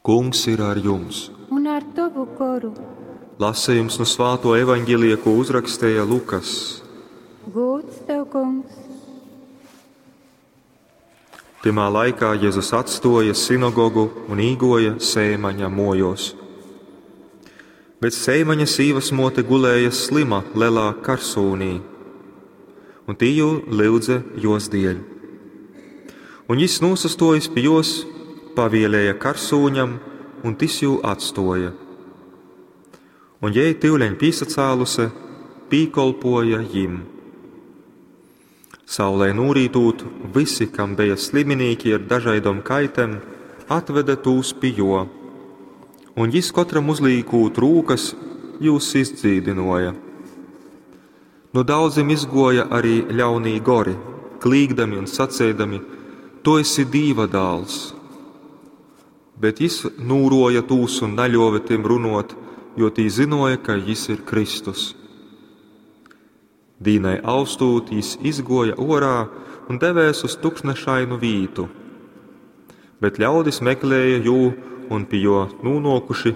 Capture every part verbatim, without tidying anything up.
Kungs ir ar jums! Un ar tovu goru. Lasījums no Svāto evaņģēlija, ko uzrakstīja Lukas. Gūds tev, kungs! Tymā laikā Jēzus atstoja sinagogu un īgoja Seimaņa mojos. Bet Seimaņa sīvas mote gulēja slima lelā karsūnī, un tī jū lyudze jos dieļ. Un jis nūsastojis pi jos, pavielēja karsūņam, un tis jū atstoja. Un jei tyuleņ pīsacāluse, pīkolpoja jim. Saulē nūrītūt, visi, kam beja sliminīki ar dažaidom kaitem, atveda tūs pi jo. Un jis kotram uzlīkūt rūkas, jūs izdzīdynuoja. Nu daudzim izguoja arī ļaunī gori, klīgdami un saceidami: Tu esi Dīva dāls! Bet jis nūroja tūs un naļuove tim runuot, jo tī zynuoja, ka jis ir Kristus. Dīnai austūt, jis izguoja uorā un devēs uz tukšnešainu vītu. Bet ļaudis meklēja jū un pi jo nūnuokuši,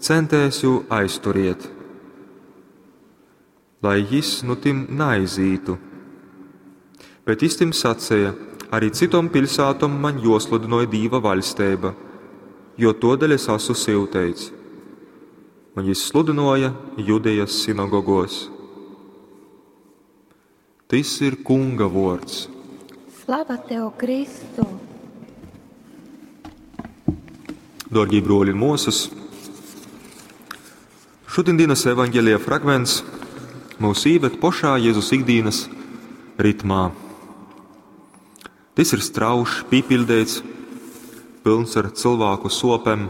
centēs jū aizturiet, lai jis nu tim naizītu. Bet jis tim saceja: Arī citom piļsātom maņ juosludynoj Dīva vaļsteiba, jo tuodeļ es asu syuteits. Un jis sludynuoja Judejas sinagogos. Tys ir Kunga vuords. Slava tev, Kristu! Dārgie bruoli un muosas, šodienas evaņģēlija fragments mūs ieved pošā Jēzus ikdienas ritmā. Tis ir strauši, pīpildīts, pilns ar cilvēku sopēm,